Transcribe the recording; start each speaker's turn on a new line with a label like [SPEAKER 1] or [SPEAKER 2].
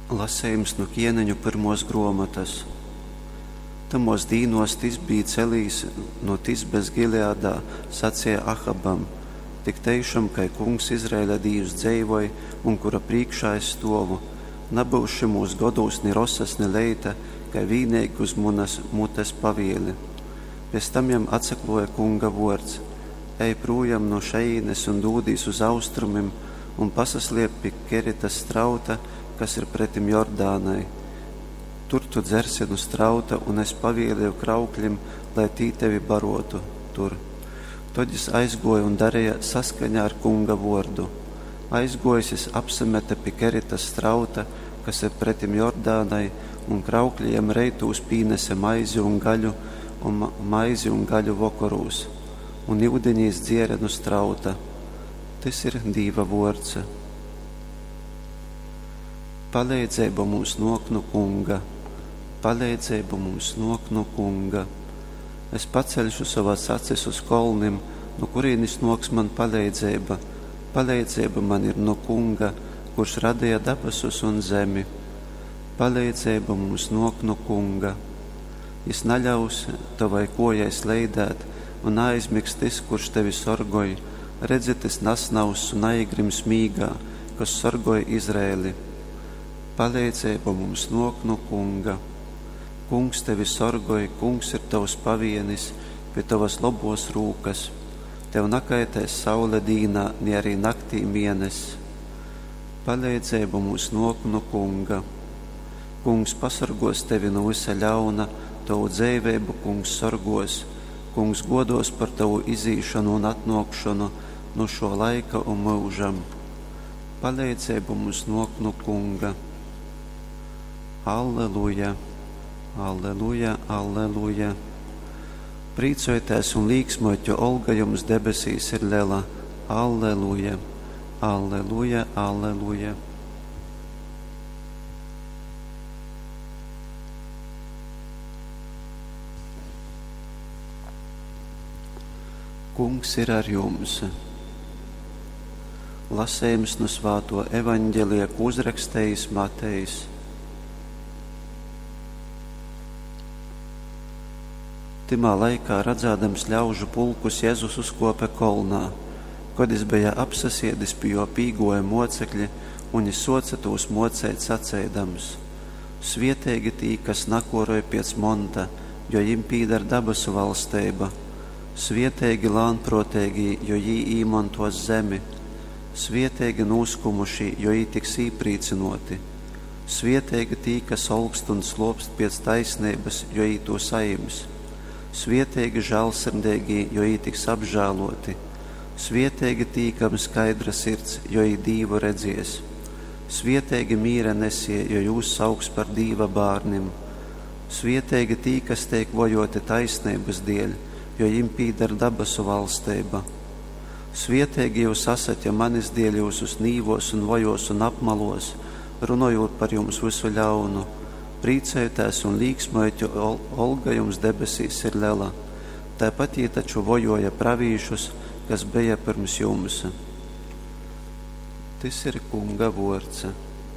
[SPEAKER 1] Lasejums nu Kieneņu pyrmuos gruomotys. Tamuos dīnuos Tisbīts Elijs nu Tisbes Gileadā saceja Ahabam, Tik teišom, kai Kungs, Izraeļa Dīvs, dzeivoj un kura prīškā es stuovu, nabyus šymūs godūs ni rosas, ni leita, kai vīneigi uz munas mutes pavieli. Piec tam jam atsakluoja Kunga vuords, Ej prūjom nu šejīnes un dūdīs uz austrumim un pasasliep pi Keritas strauta, kas ir pretim Jordānai. Tur tu dzersi nu strauta, un es pavielieju kraukļim, lai tī tevi baruotu tur. Tod jis aizguoja un dareja saskaņā ar Kunga vuordu. Aizguojis jis apsamete pi Keritas strauta, kas ir pretim Jordānai, un kraukļi jam reitūs pīnese maizi un gaļu, un maizi un gaļu vokorūs. Un yudini jis dziere nu strauta. Tys ir Dīva vuords. Paleidzeiba mums nuok nu Kunga. Paleidzeiba mums nuok nu Kunga. Es paceļšu sovas acis uz kolnim, nu kurīnis nuoks man paleidzeiba. Paleidzeiba man ir nu Kunga, kurš radeja dabasus un zemi. Paleidzeiba mums nuok nu Kunga. Jis naļaus tovai kuojai sleidēt, un naaizmigs tys, kurš tevi sorgoj. Redzi, tys nasnauss un naīgrims mīgā, kas sorgoj Izraeli. Paleidzeiba mums nuok nu Kunga. Kungs tevi sorgoj, Kungs ir tovs pavienis pi tovas lobuos rūkas. Tev nakaitēs saule dīnā, ni arī naktī mieness. Paleidzeiba mums nuok nu Kunga. Kungs pasorguos tevi nu vysa ļauna, tovu dzeiveibu Kungs sorguos. Kungs guoduos par tovu izīšonu un atnuokšonu nu šuo laika un myužam. Paleidzeiba mums nuok nu Kunga. Alleluja! Alleluja! Alleluja! Prīcojitēs un līksmojit, jo olga jums debesīs ir lela. Alleluja! Alleluja! Alleluja! Kungs ir ar jums! Lasejums nu svātuo Evaņgelija, kū uzrakstejis Matejs. Tymā laikā, radzādams ļaužu pulkus, Jezus uzkuope kolnā. Kod jis beja apsasiedis, pi juo pīguoja muocekļi, un jis suoce tūs muoceit, saceidams: Svieteigi tī, kas nakuoroj piec monta, jo jim pīdar dabasu valsteiba. Svieteigi lānpruoteigī, jo jī īmontuos zemi. Svieteigi nūskumušī, jo jī tiks īprīcynuoti. Svieteigi tī, kas olkst un sluopst piec taisneibys, jo jī tū sajims. Svieteigi žālsirdeigī, jo jī tiks apžāluoti. Svieteigi tī, kam skaidra sirds, jo jī Dīvu redzies. Svieteigi mīra nesieji, jo jūs sauks par Dīva bārnim. Svieteigi tī, kas teik vojuoti taisneibys dieļ, jo jim pīdar dabasu valsteiba. Svieteigi jyus asat, ja manis dieļ jyusus nīvuos un vojuos un apmaluos, runojūt par jums vysu ļaunu. Prīcojitēs un līksmojit, jo olga jums debesīs ir lela. Taipat jī taču vojuoja pravīšus, kas beja pyrms jums. Tys ir Kunga vuords.